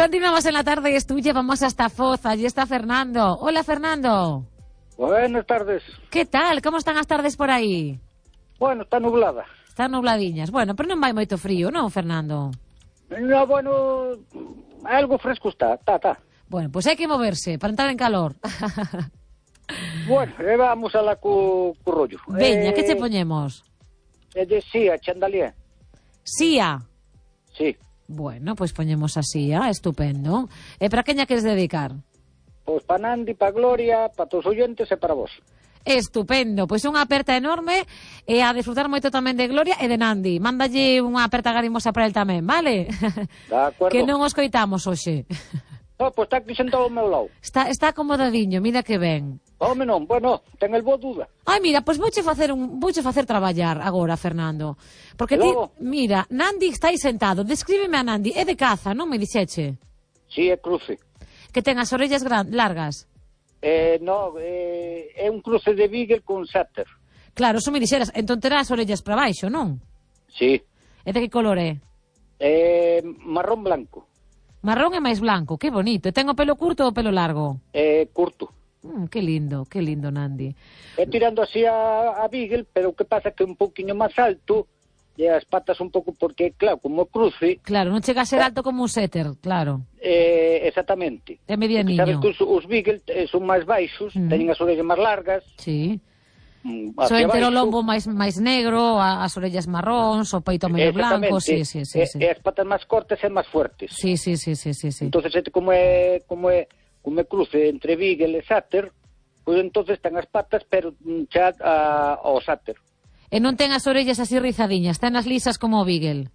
Continuamos en la tarde, es tuya, vamos hasta Foz, allí está Fernando. Hola, Fernando. Buenas tardes. ¿Qué tal? Como están as tardes por aí? Bueno, está nublada. Están nubladiñas. Bueno, pero non vai moito frío, non, Fernando? No, bueno, algo fresco está. Bueno, pues hai que moverse para entrar en calor. Bueno, vamos a la cu rollo. Veña, que che poñemos? De Sia, Chandalier. Sia. Sí. Bueno, pues poñemos a Sia, estupendo. E para queña queres dedicar? Pois para Nandi, para Gloria, para todos os oyentes e para vos. Estupendo, pois unha aperta enorme e a disfrutar moito tamén de Gloria e de Nandi. Mándalle unha aperta garimosa para el tamén, vale? De acordo. Que non os coitamos hoxe. No, pois está aquí sentado ao meu lado. Está acomodadiño, mira que ben. Home non, bueno, ten el boa duda. Ai, mira, pois vouche facer traballar agora, Fernando. Porque ti, mira, Nandi está aí sentado. Descríbeme a Nandi, é de caza, non me dixeche? Si, é cruce. Que ten as orellas largas. No, é un cruce de Beagle con Setter. Claro, eso me dixeras, entón terá as orellas para baixo, non? Si. E de que color é? Marrón blanco. Marrón e máis blanco, que bonito. E ten o pelo curto ou o pelo largo? Curto. Que lindo, Nandi. Tirando así a Beagle, pero o que pasa que é un pouquiño máis alto e as patas un pouco, porque claro, como cruce... Claro, non chega a ser alto como un setter, claro. Exactamente. É medianiño. Sabes que os Beagle son máis baixos, teñen as orellas máis largas. Sí. So entre o lombo máis negro, as orellas marróns, o peito medio blanco, sí. E as patas máis cortas e máis fuertes. Sí. Entonces, como é cruce entre Beagle e Setter, pois entonces ten as patas, pero xa ao Setter. E non ten as orellas así rizadiñas, ten as lisas como o Beagle.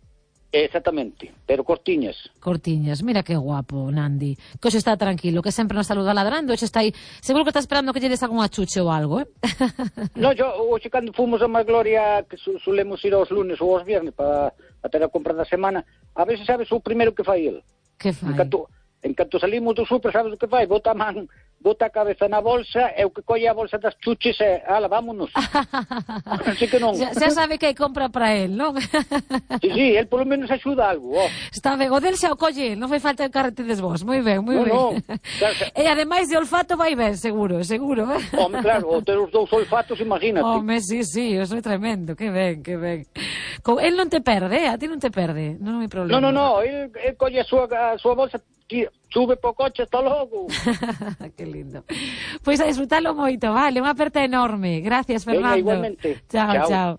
Exactamente, pero cortiñas. Cortiñas, mira que guapo, Nandi. Que hoxe está tranquilo, que sempre nos saluda ladrando, hoxe está aí. Seguro que está esperando que lle des algún achuche ou algo, No, hoxe cando fomos a máis Gloria, que solemos ir aos lunes ou aos viernes para ter a compra da semana, a veces sabes o primeiro que fai el. Que fai? En canto salimos do super, sabes o que fai? Bota a cabeza na bolsa e o que colle a bolsa das chuches e ala, vámonos. Así que non. Xa sabe que hai compra para él, non? Sí, él polo menos axuda algo. Está ben, o del xa o colle, non fai falta que carretedes vos. Moi ben. No. E ademais de olfato vai ben, seguro. Home, claro, ter os dous olfatos, imagínate. Home, sí, eso é tremendo, que ben. El non te perde, a ti non te perde, non hai problema. No, el colle a súa bolsa, sube po coche, hasta logo. Que lindo. Pois a disfrutarlo moito, vale, unha aperta enorme. Gracias, Fernando. Venga, igualmente. Chao.